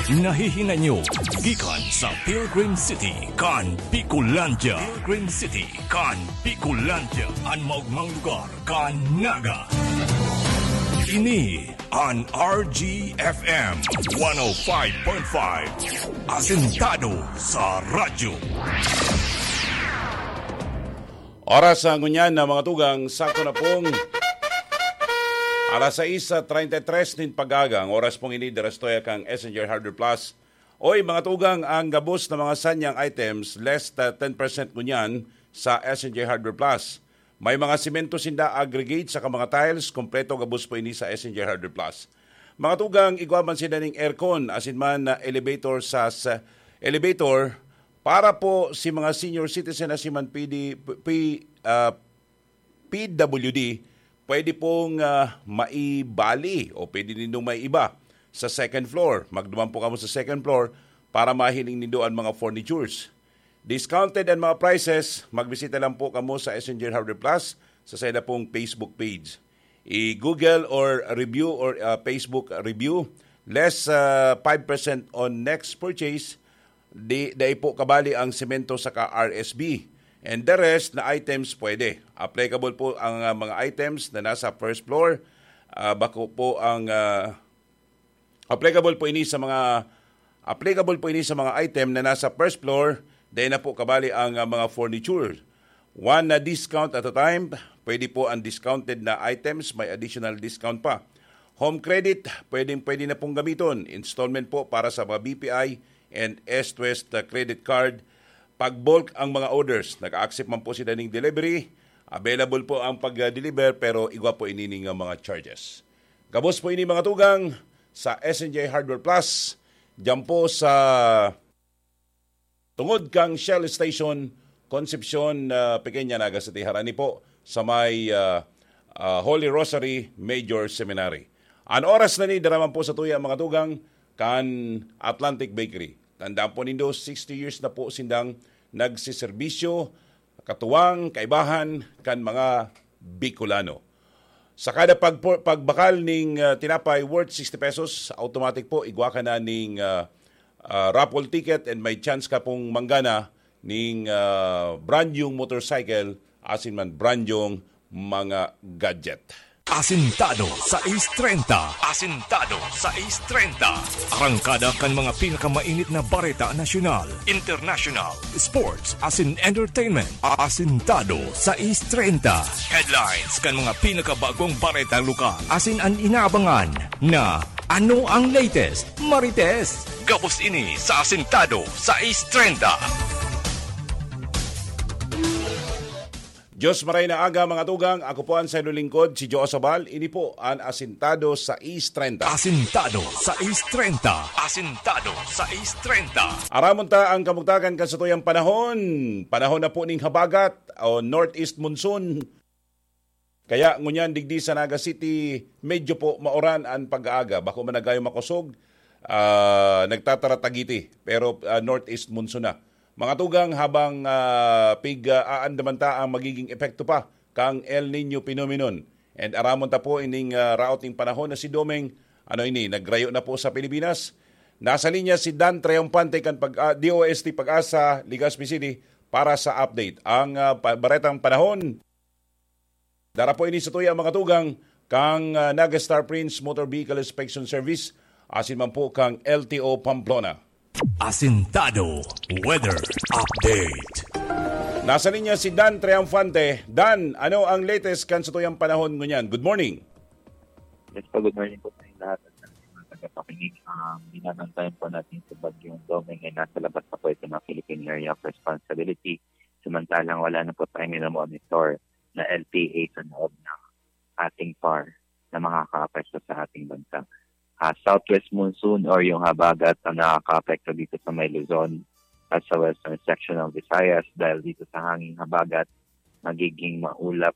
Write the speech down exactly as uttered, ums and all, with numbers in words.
Nahihinanyo gikan sa Pilgrim City kan Bicolandia. Pilgrim City kan Bicolandia, an maogmang lugar kan Naga. Ini an R G F M one oh five point five, Asentado sa Radyo. Oras sa ngunyan na mga tugang, sakto na pong alas sais treinta y tres nin pag-aga. Ang oras pong ini, dira sa tuya kan S N J Hardware Plus. Oy, mga tugang, ang gabos na mga sanyang items, less than ten percent ngunyan sa S N J Hardware Plus. May mga semento sinda, aggregate, saka mga tiles, kompleto gabos po ini sa S N J Hardware Plus. Mga tugang, igwa man sinda ning aircon, asin man na elevator sa, sa elevator, para po si mga senior citizen, asin man P D, P, ah, P W D, pwede pong, ah, maibali o pwede nindong maiba sa second floor. Magduman po kamo sa second floor para mahiling nindo an mga furnitures. Discounted an mga prices. Magbisita lang po kamo sa S N J Hardware Plus sa saida pong Facebook page. I-Google or review or, ah, Facebook review. Less, ah, five percent on next purchase. Di, dai po kabali ang semento saka R S B. And the rest na items pwede. Applicable po ang, ah, mga items na nasa first floor. Ah, bako po ang, ah, applicable po ini sa mga applicable po ini sa mga item na nasa first floor. Dai na po kabali ang, ah, mga furniture. One na discount at a time. Pwede po ang discounted na items, may additional discount pa. Home credit, pwedeng pwede na pong gamiton. Installment po para sa mga B P I and East West, uh, credit card. Pag bulk ang mga orders, nag-accept man po sila ning delivery. Available po ang pag-deliver, pero igwa po ini ning, uh, mga charges. Gabos po ini, mga tugang, sa S N J Hardware Plus. Diyan po sa tungod kang Shell Station, Concepcion, ah, Pequeña, Naga City. Harani po sa may, ah, ah, Holy Rosary Major Seminary. An oras na ni, daraman po sa tuya, mga tugang, kan Atlantic Bakery. Tandaan po nindo, sixty years na po sindang nagsiserbisyo, katuwang, kaibahan, kan mga Bicolano. Sa kada pagpo-, pagbakal ning, ah, tinapay worth sixty pesos, automatic po, igwa ka na ning, ah, ah, raffle ticket and may chance ka pong manggana ning, ah, brand new motorcycle, asin man brand new mga gadget. Asintado sa East treinta. Asintado sa East treinta. Arangkada kan mga pinakamainit na bareta nasyonal, international, sports, asin entertainment. Asintado sa East treinta. Headlines kan mga pinakabagong bareta lokal. Asin an inaabangan na ano ang latest, Marites. Gabos ini sa Asintado sa East treinta. Diyos maray na aga, mga tugang. Ako po ang sayo lingkod, si Joe Sabal. Ini po an Asintado sa East treinta. Asintado sa East treinta. Asintado sa East treinta. Aramon ta ang kamugtakan kan satuyang panahon. Panahon na po ning habagat o northeast monsoon. Kaya ngunyan digdi sa Naga City, medyo po mauran an pag-aaga. Bako man nagayo makosog, ah, nagtataratagiti. Pero, ah, northeast monsoon na. Mga tugang, habang, ah, pig-, ah, aandaman ta ang magiging epekto pa kang El Niño phenomenon. And aramon ta po ining, ah, raot ning panahon na si Domeng, ano ini, nagrayo na po sa Pilipinas. Nasa linya si Dan Triumphante kan pag-, ah, D O S T Pag-asa, Legazpi City, para sa update. Ang, ah, pa-, baretang panahon, dara po ini sa tuya, mga tugang, kang, ah, Naga Star Prince Motor Vehicle Inspection Service, asin man po kang L T O Pamplona. Asintado Weather Update. Nasa linya si Dan Triumphante. Dan, ano ang latest kan sa tuyang panahon ngunyan? Good morning. Yes po, good morning po sa inyong lahat at sa mga tagapakinig. Um, binabantayan po natin sa Bagyong Domeng ay nasa labas pa po ito ng Philippine Area of Responsibility. Samantalang wala na po tayo minomonitor na L T A sa loob ng ating par na makakaapekto sa ating bansa. Ah, southwest monsoon or yung habagat ang nakakaapekto dito sa may Luzon at sa western section ng Visayas dahil dito sa hanging habagat, magiging maulap